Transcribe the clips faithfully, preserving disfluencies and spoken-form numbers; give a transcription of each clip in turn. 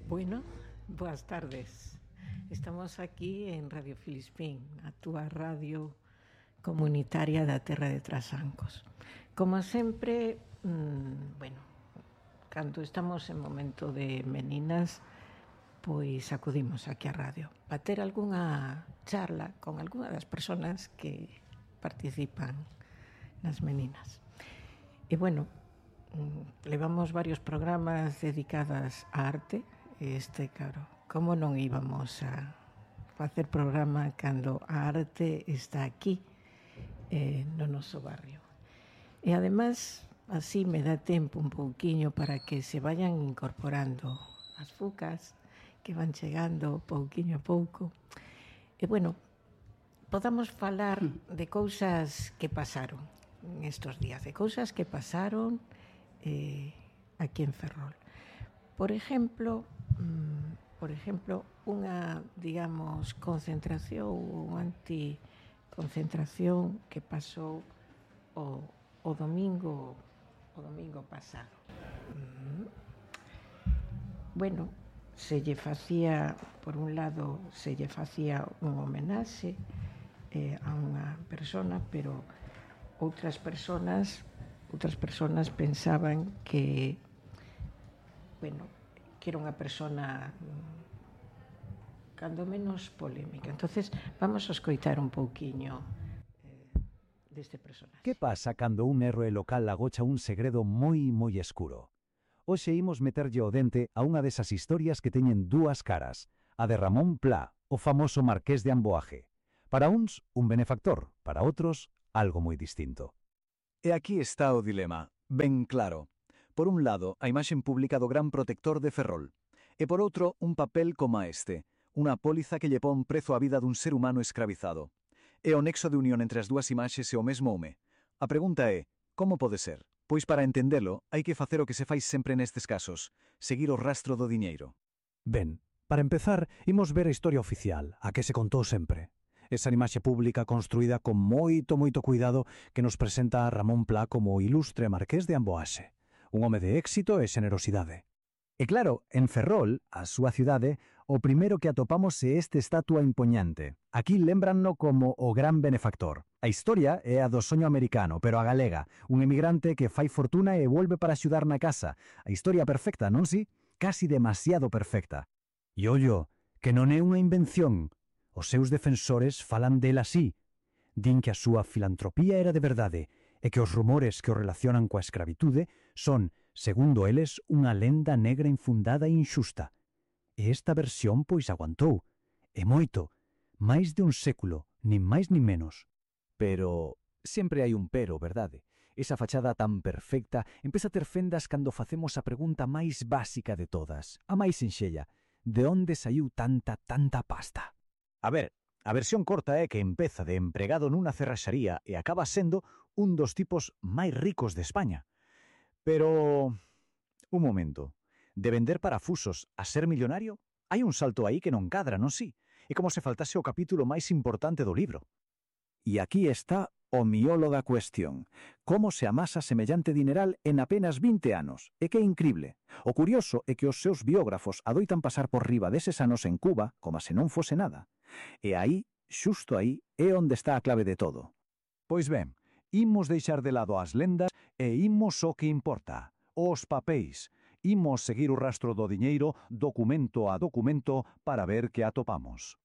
Bueno, boas tardes. Estamos aquí en Radio Filispín, a túa radio comunitaria da Terra de Trasancos. Como sempre, mmm, bueno, cando estamos en momento de meninas, pois acudimos aquí á radio para ter algunha charla con algunha das persoas que participan nas meninas. E bueno, levamos varios programas dedicadas á arte. Este, claro, como non íbamos a facer programa cando a arte está aquí, eh, no noso barrio. E ademais, así me dá tempo un pouquiño para que se vayan incorporando as fucas que van chegando pouquiño a pouco. E bueno, podamos falar de cousas que pasaron en estos días, de cousas que pasaron eh, aquí en Ferrol. Por exemplo, por exemplo, unha, digamos, concentración ou anticoncentración que pasou o, o domingo o domingo pasado. Bueno, se lle facía, por un lado, se lle facía un homenaxe eh, a unha persona, pero outras personas, outras personas pensaban que, bueno, que era unha persona cando menos polémica. Entonces, vamos a escoitar un pouquiño eh, deste personaxe. Que pasa cando un héroe local agocha un segredo moi, moi escuro? Hoxe imos meterlle o dente a unha desas historias que teñen dúas caras, a de Ramón Pla, o famoso marqués de Amboaje. Para uns, un benefactor, para outros, algo moi distinto. E aquí está o dilema, ben claro. Por un lado, a imaxen pública do gran protector de Ferrol, e por outro, un papel coma este, unha póliza que lle pon prezo á vida dun ser humano escravizado. E o nexo de unión entre as dúas imaxes é o mesmo home. A pregunta é, como pode ser? Pois para entendelo, hai que facer o que se fai sempre nestes casos, seguir o rastro do diñeiro. Ben, para empezar, imos ver a historia oficial, a que se contou sempre. Esa imaxe pública construída con moito, moito cuidado que nos presenta a Ramón Pla como o ilustre marqués de Amboaxe. Un home de éxito e xenerosidade. E claro, en Ferrol, a súa cidade, o primeiro que atopamos é este estatua impoñante. Aquí lembranno como o gran benefactor. A historia é a do soño americano, pero a galega, un emigrante que fai fortuna e volve para axudar na casa. A historia perfecta, non si? Casi demasiado perfecta. E ollo, que non é unha invención. Os seus defensores falan del así. Din que a súa filantropía era de verdade, e que os rumores que o relacionan coa escravitude son, segundo eles, unha lenda negra infundada e inxusta. E esta versión pois aguantou, e moito, máis de un século, nin máis nin menos. Pero sempre hai un pero, verdade? Esa fachada tan perfecta empeza a ter fendas cando facemos a pregunta máis básica de todas, a máis sinxella, de onde saiu tanta, tanta pasta? A ver, a versión corta é que empeza de empregado nunha cerraxaría e acaba sendo un dos tipos máis ricos de España. Pero, un momento, de vender parafusos a ser millonario? Hai un salto aí que non cadra, non si? É como se faltase o capítulo máis importante do libro. E aquí está o miolo da cuestión. Como se amasa semellante dineral en apenas vinte anos? E que incrible. O curioso é que os seus biógrafos adoitan pasar por riba deses anos en Cuba como se non fose nada. E aí, xusto aí, é onde está a clave de todo. Pois ben, imos deixar de lado as lendas e imos o que importa, os papéis. Imos seguir o rastro do diñeiro, documento a documento, para ver que atopamos.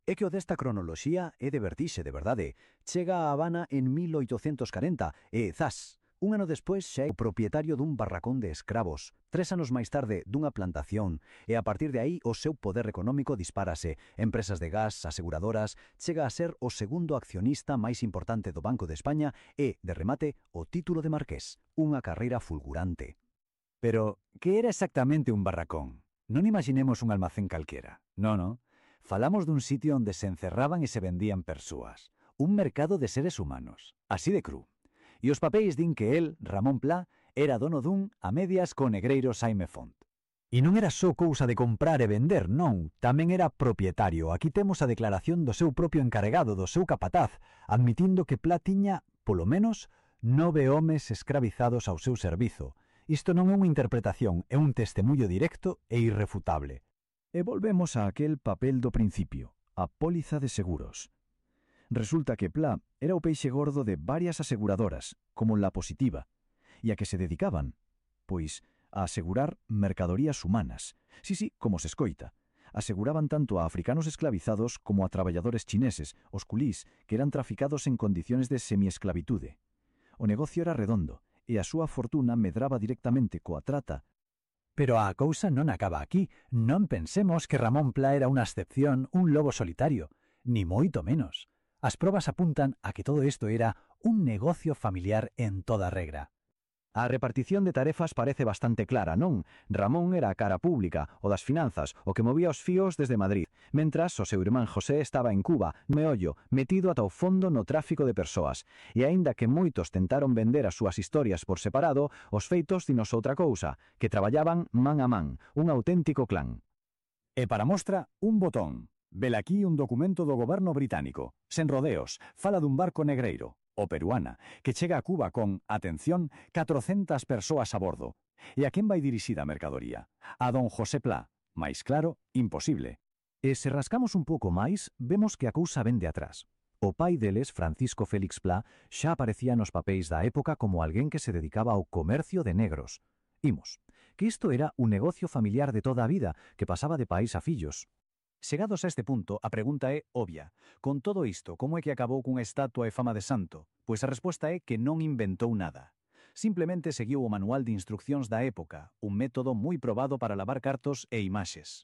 É que o desta cronoloxía é de vertixe, de verdade. Chega a Habana en mil oitocentos corenta e, zas, un ano despois xa é o propietario dun barracón de escravos, tres anos máis tarde dunha plantación, e a partir de aí o seu poder económico dispárase. Empresas de gas, aseguradoras, chega a ser o segundo accionista máis importante do Banco de España e, de remate, o título de marqués, unha carreira fulgurante. Pero, que era exactamente un barracón? Non imaginemos un almacén calquera. No, no. Falamos dun sitio onde se encerraban e se vendían persoas. Un mercado de seres humanos. Así de cru. E os papéis din que el, Ramón Pla, era dono dun a medias co negreiro Xaime Font. E non era só cousa de comprar e vender, non. Tamén era propietario. Aquí temos a declaración do seu propio encarregado, do seu capataz, admitindo que Pla tiña, polo menos, nove homes escravizados ao seu servizo. Isto non é unha interpretación, é un testemunho directo e irrefutable. E volvemos a aquel papel do principio, a póliza de seguros. Resulta que Pla era o peixe gordo de varias aseguradoras, como La Positiva, e a que se dedicaban? Pois a asegurar mercadorías humanas. Sí, sí, como se escoita. Aseguraban tanto a africanos esclavizados como a traballadores chineses, os culís, que eran traficados en condiciones de semiesclavitude. O negocio era redondo, e a súa fortuna medraba directamente coa trata. Pero a cousa non acaba aquí. Non pensemos que Ramón Pla era unha excepción, un lobo solitario. Ni moito menos. As probas apuntan a que todo isto era un negocio familiar en toda regra. A repartición de tarefas parece bastante clara, non? Ramón era a cara pública, o das finanzas, o que movía os fíos desde Madrid, mentras o seu irmán José estaba en Cuba, meollo, metido ata o fondo no tráfico de persoas. E aínda que moitos tentaron vender as súas historias por separado, os feitos dinos outra cousa, que traballaban man a man, un auténtico clan. E para mostra, un botón. Velaquí un documento do goberno británico, sen rodeos, fala dun barco negreiro, o Peruana, que chega a Cuba con, atención, catrocentas persoas a bordo. E a quen vai dirixida a mercadoría? A don José Pla. Mais claro, imposible. E se rascamos un pouco máis, vemos que a cousa vén de atrás. O pai deles, Francisco Félix Pla, xa aparecía nos papéis da época como alguén que se dedicaba ao comercio de negros. Imos, que isto era un negocio familiar de toda a vida, que pasaba de pais a fillos. Chegados a este punto, a pregunta é obvia. Con todo isto, como é que acabou cunha estatua e fama de santo? Pois a resposta é que non inventou nada. Simplemente seguiu o manual de instruccións da época, un método moi probado para lavar cartos e imaxes.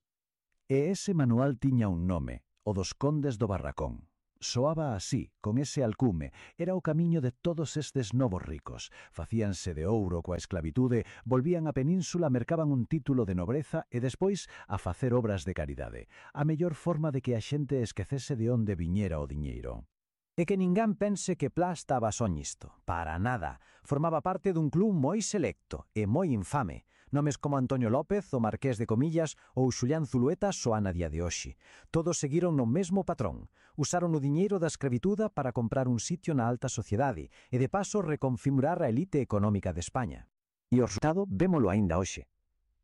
E ese manual tiña un nome, o dos Condes do Barracón. Soaba así, con ese alcume, era o camiño de todos estes novos ricos. Facíanse de ouro coa esclavitude, volvían á península, mercaban un título de nobreza e despois a facer obras de caridade. A mellor forma de que a xente esquecese de onde viñera o diñeiro. E que ningán pense que Pla estaba só nisto. Para nada. Formaba parte dun club moi selecto e moi infame. Nomes como Antonio López, o Marqués de Comillas ou Xulián Zulueta soan a día de hoxe. Todos seguiron no mesmo patrón. Usaron o diñeiro da escravituda para comprar un sitio na alta sociedade e de paso reconfigurar a elite económica de España. E o resultado vémolo aínda hoxe.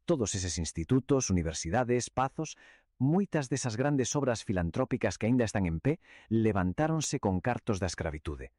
Todos eses institutos, universidades, pazos, moitas desas grandes obras filantrópicas que aínda están en pé, levantáronse con cartos da escravitude.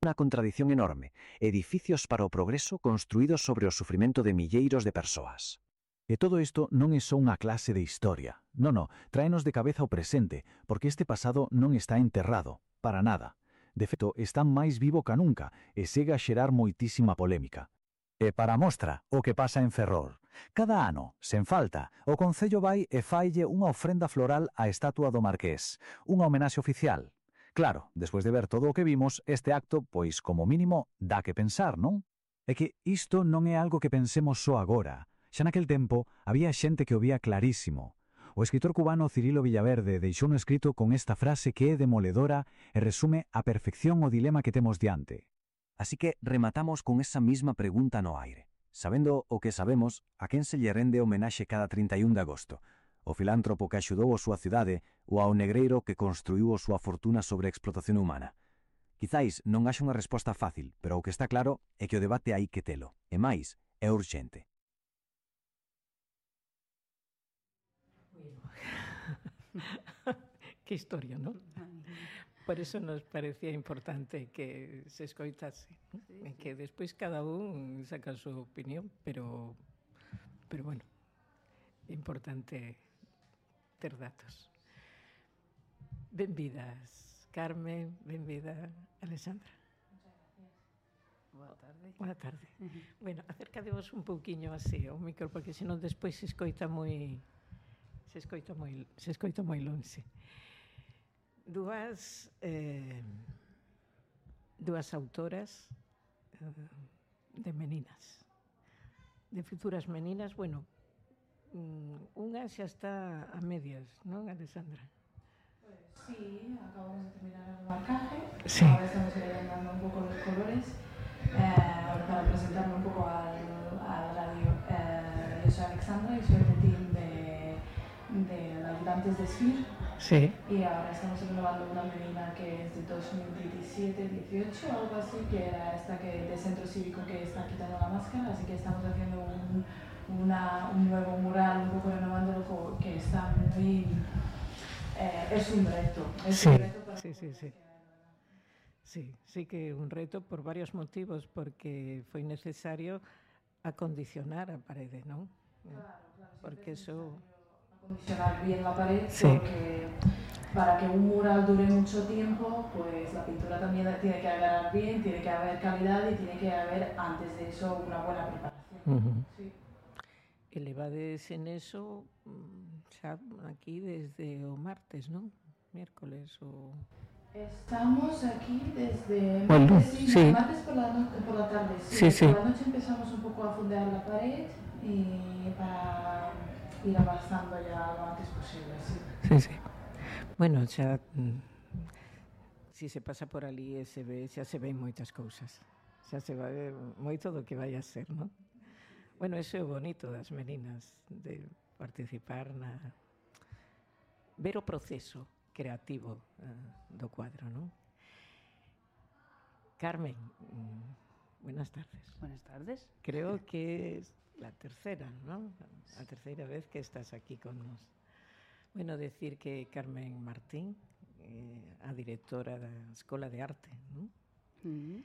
Unha contradición enorme, edificios para o progreso construídos sobre o sufrimento de milleiros de persoas. E todo isto non é só unha clase de historia. Non, non, tráenos de cabeza o presente, porque este pasado non está enterrado, para nada. De feito, está máis vivo ca nunca e segue a xerar moitísima polémica. E para mostra, o que pasa en Ferrol. Cada ano, sen falta, o Concello vai e faille unha ofrenda floral á estatua do Marqués, unha homenaxe oficial. Claro, despois de ver todo o que vimos, este acto, pois, como mínimo, dá que pensar, non? É que isto non é algo que pensemos só agora. Xa naquel tempo, había xente que o vía clarísimo. O escritor cubano Cirilo Villaverde deixou un escrito con esta frase que é demoledora e resume a perfección o dilema que temos diante. Así que rematamos con esa misma pregunta no aire. Sabendo o que sabemos, a quen se lle rende homenaxe cada trinta e un de agosto? O filántropo que axudou a súa cidade ou ao negreiro que construiu a súa fortuna sobre a explotación humana? Quizáis non haxa unha resposta fácil, pero o que está claro é que o debate hai que telo. E máis, é urxente. Que historia, non? Por eso nos parecía importante que se escoitase, ¿no? Sí, sí. Que despois cada un saca a súa opinión, pero, pero bueno, é importante ter datos. Benvidas, Carmen, benvida, Alexandra. Boa tarde. Boa tarde. Uh-huh. Bueno, acércadevos un pouquiño así ao micro, porque senón despois se escoita moi se escoita moi se escoita moi lonxe. Dúas eh, dúas autoras eh, de meninas, de futuras meninas. Bueno, unha xa está a medias, non, Alexandra? Pues sí, acabamos de terminar el marcaje. Sí. Ahora estamos dando un poco los colores eh, para presentarme un poco al, al radio. Eh, yo soy Alexandra y soy del team de, de ayudantes de S F I R. Sí. Y ahora estamos renovando una menina que es de dos mil diecisiete dieciocho, algo así, que era esta que de centro cívico que está quitando la máscara, así que estamos haciendo un, una, un nuevo mural, un poco renovándolo, que está muy... Eh, es un reto. Es Sí, un reto para sí, sí, sí. Sí, sí que un reto por varios motivos, porque foi necesario acondicionar a parede, non? Claro, claro, porque eso... acondicionar bien la pared, Sí. porque para que un mural dure mucho tiempo, pues la pintura también tiene que agarrar bien, tiene que haber calidad y tiene que haber antes de eso una buena preparación. Uh-huh. Sí. Elevades en eso xa aquí desde o martes, non? Miércoles o... Estamos aquí desde Bueno, martes, sí, sí. martes por la, no- por la tarde. Sí, sí. Por la noche empezamos un poco a fondear la pared y para ir avanzando ya lo antes posible. Sí. Sí, sí. Bueno, xa... mm, si se pasa por ali e se ve, xa se ven moitas cousas. Xa se va ver moito do que vai a ser, non? Bueno, eso é o bonito das meninas, de participar na... ver o proceso creativo uh, do cuadro, non? Carmen, mm, buenas tardes. Buenas tardes. Creo que es la tercera, ¿no? La tercera vez que estás aquí con nos. Bueno, decir que Carmen Martín, eh, a directora da Escola de Arte, ¿no? Mm.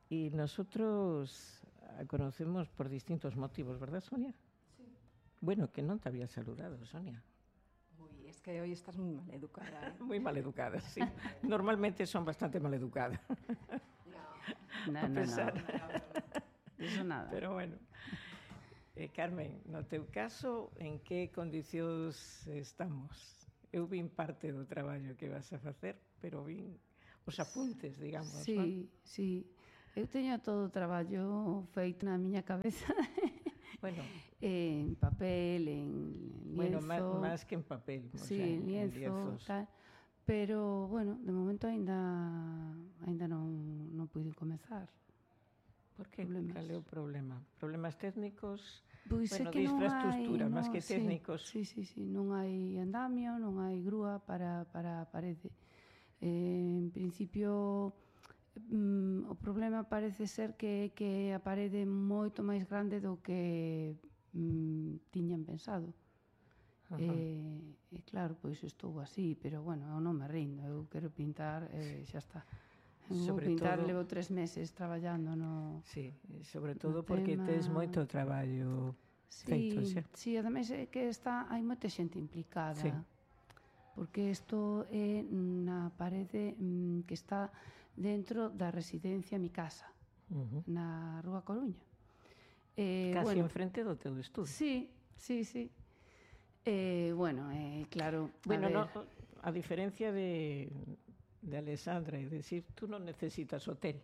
Y nosotros a conocemos por distintos motivos, ¿verdad, Sonia? Sí. Bueno, que non te había saludado, Sonia. Uy, es que hoy estás muy mal educada, ¿eh? Muy mal educada, sí. Normalmente son bastante mal educadas. No, a no, pesar. no. Eso nada. Pero bueno. Eh, Carmen, no teu caso, en que condicións estamos? Eu vin parte do traballo que vas a facer, pero vin os apuntes, digamos, Sí, non? sí. Eu teño todo o traballo feito na miña cabeza. Bueno, En papel, en bueno, lienzo. má- máis que en papel, o Sí, sea, en en lienzo, lienzos. tal. Pero, bueno, de momento aínda aínda non, non pude comezar. Por que? Problemas. Cal é o problema? Problemas técnicos? Pois Bueno, é que de non infraestructura, hai, máis non, que sí, técnicos. Sí, sí, sí, non hai andamio, non hai grúa para, para a parede. Eh, en principio, mm, o problema parece ser que, que a parede é moito máis grande do que mm, tiñan pensado. Ajá. E, e claro, pois estou así, pero bueno, eu non me rindo, eu quero pintar e xa está. Eu vou Sobre pintar, todo- levo tres meses traballando no... Sí, e sobre todo No porque tema- tes moito traballo Sí, feito xa. sí, ademais é que está, hai moita xente implicada. Sí. Porque isto é na parede mm, que está dentro da residencia Mi Casa, Uh-huh. na Rúa Coruña. Eh, Casi bueno, enfrente do teu estudio. sí, sí, sí. Eh, bueno, eh, claro, Bueno, a ver, no, a diferencia de, de Alessandra, es decir, tú no necesitas hotel.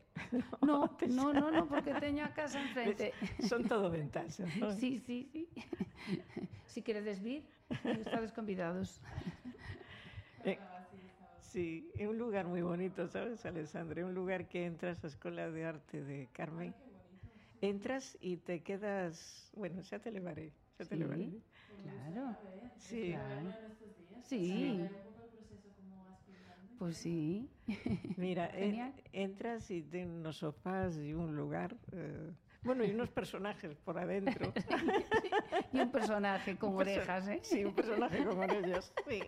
no, Tes- no, no, no, porque teño a casa enfrente. Son todo ventajas, ¿no? Sí, sí, sí. Si queredes vir, estades convidados. Eh, sí, es un lugar muy bonito, ¿sabes, Alessandra? Es un lugar que entras a la Escuela de Arte de Carmen. Entras y te quedas... Bueno, ya te llevaré, ya te Sí, llevaré. claro. Sí, Claro. Sí. Pues sí. mira, en- Genial. entras y tiene unos sofás y un lugar... eh, bueno, y unos personajes por adentro. Y un personaje con Un perso- orejas, ¿eh? Sí, un personaje con orejas, sí,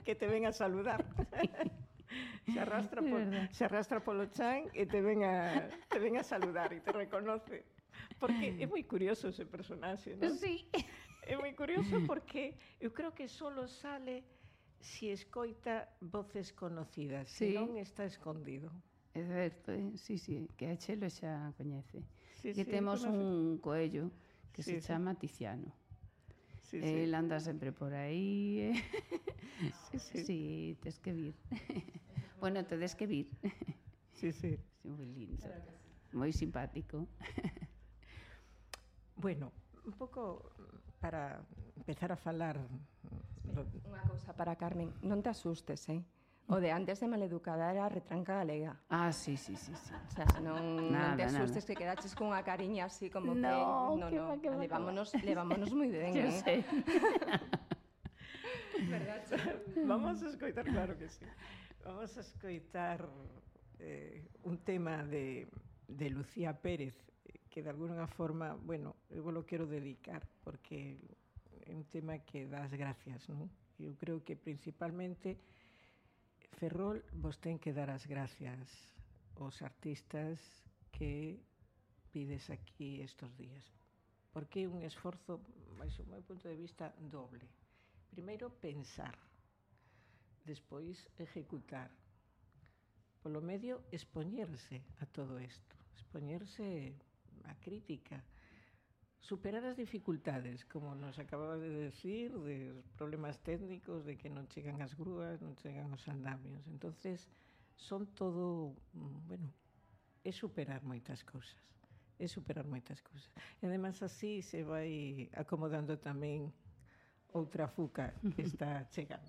que te venga a saludar. Se arrastra, Es por, verdad. se arrastra por los chan y te venga, te venga a saludar y te reconoce. Porque es muy curioso ese personaje, ¿no? Sí. É moi curioso porque eu creo que solo sale si escoita voces conocidas, Sí. si non está escondido. É certo, eh? Sí, sí, que a Chelo xa coñece. Sí, Que sí, temos conoce. un coello que Sí, se sí. chama Tiziano. Sí, sí. El anda sempre por aí. Eh? Sí, sí. Sí, tes que vir. Bueno, tedes que vir. Sí, sí. Sí, moi lindo. Moi simpático. Bueno, un pouco para empezar a falar do, Unha cousa para Carmen, non te asustes, eh? O de antes de maleducada era a retranca galega. Ah, sí, sí, sí, sí. O sea, non, Nada, non te nada. asustes que quedaches cunha cariña así como No, que... que va, que va, que va. levámonos, levámonos moi ben, Yo eh? sé. Vamos a escoitar, claro que sí. Vamos a escoitar eh, un tema de, de Lucía Pérez, que de alguna forma, bueno, eu lo quero dedicar, porque é un tema que das gracias, non? Eu creo que principalmente Ferrol vos ten que dar as gracias aos artistas que pides aquí estes días, porque é un esforzo, máis o meu punto de vista, doble. Primeiro, pensar, despois, ejecutar. Polo medio, expoñerse a todo isto, expoñerse a crítica, superar as dificultades, como nos acababa de decir, de problemas técnicos, de que non chegan as grúas, non chegan os andamios. Entonces, son todo, bueno, é superar moitas cousas, é superar moitas cousas. E además así se vai acomodando tamén outra fuca que está chegando.